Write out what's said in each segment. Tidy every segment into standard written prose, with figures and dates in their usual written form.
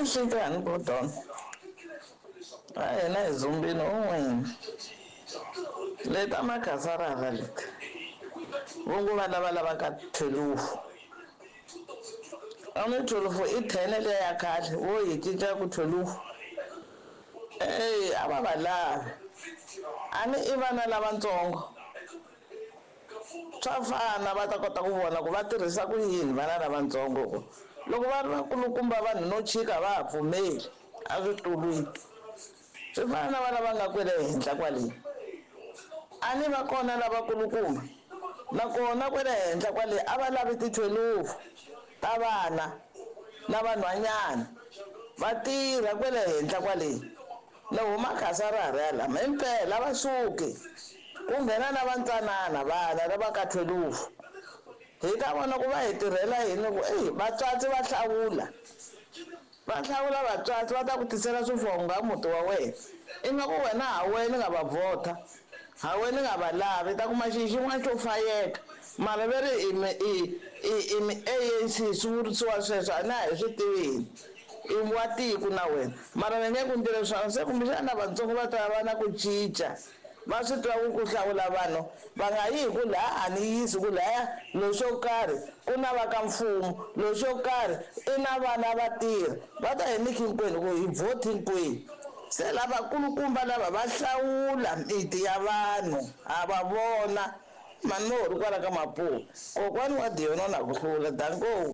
Nhlikani Gordon. A hina hi dzumbini un'wini. Leta makhasarara leti. Vo ngo va lava lavaka thwelufu. A ni thwelufu i thene liya ya khale vo yi cinca ku thwelufu. Eyi a va va lavi. A ni i vana lavatsongo. Swa fana va ta kota ku vona ku va tirhisa ku yini vana lavatsongo ku loko va ri vakulukumba vanhu no chika va ha pfumeli eswitulwini. Swi fana na vana va nga kwele henhla kwale. A ni va kona lavakulukumba nakona kwele henhla kwale a va lavi tithwelufu ta vana na vanhwanyana va tirha kwele henhla kwale. Ni huma khasarara ya lama himpela a va suki ku nghena na vantsanana vana lava ka thwelufu hi ta vona ku va hi tirhela yini ku eyi vatswatsi va hlawula va hlawula vatswatsi va ta ku tisela swifhongo muti wa wena ingaku wena ha wena nga va vhota ha wena nga va lavi ta kuma xi xin'wana xo fayeka mara ve ri i mi i i i mi ANC swi vurisiwa sweswo a na hi swi tivini i wa tiko na wena mara va nge ku ndlele swona se kumbexana lavatsongo va ta va na ku cinca va swi tiva ku ku hlawula vanhu va nga yi hi ku laha a ni yisi ku laya loxo karhi ku na va ka mfumo loxo karhi i na vana va tirha va ta hi nyiki hinkwenu ku hi vote hinkwenu se lavakulukumba lava va hlawula miti ya vanhu ha va vona mani mo ri kwala ka mapuwa kokwani wa diyona na ku hlula danko.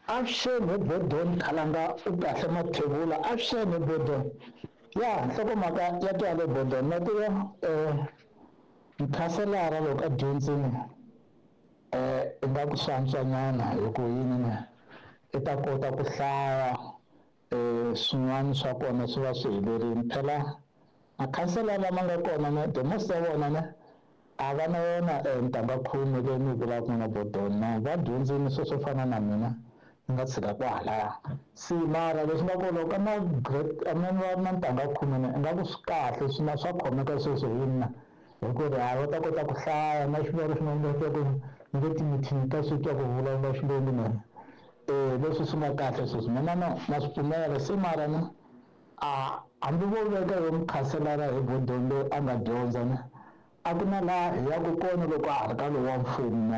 Avuxeni hi Bodon Khalanga u kahle Mathebula avuxeni hi Bodon ya nhlokomhaka ya twale Bodon na tiva mukhanselara loko a dyondzini ingaku swi antswanyana hi ku yini ne i ta kota ku hlaya swin'wana swa kona swi va swi helerile phela makhansela lama nga kona ne the most ya vona ne a va na yona ntanga khume leyi ni yi vulaka na Bodon na va dyondzini sweswo swo fana na mina ni nga tshika kwahalaya se mara leswi nga kona loko na grade a na va na ntanga khume ne ingaku swi kahle swi na swa khomeka sweswo hi mina hi ku ri ha va ta kota ku hlaya na xivongo xin'wana va twa ku ni le timithini ta swi twa ku vulavula xilungu na leswi swi nga kahle sweswo mina na na swi pfumela se mara na a hambi vo veka yo mukhanselara hi Bodon loyi a nga dyondza ne a ku na laha hi yaka kona loko a ha ri ka lowa mfumo.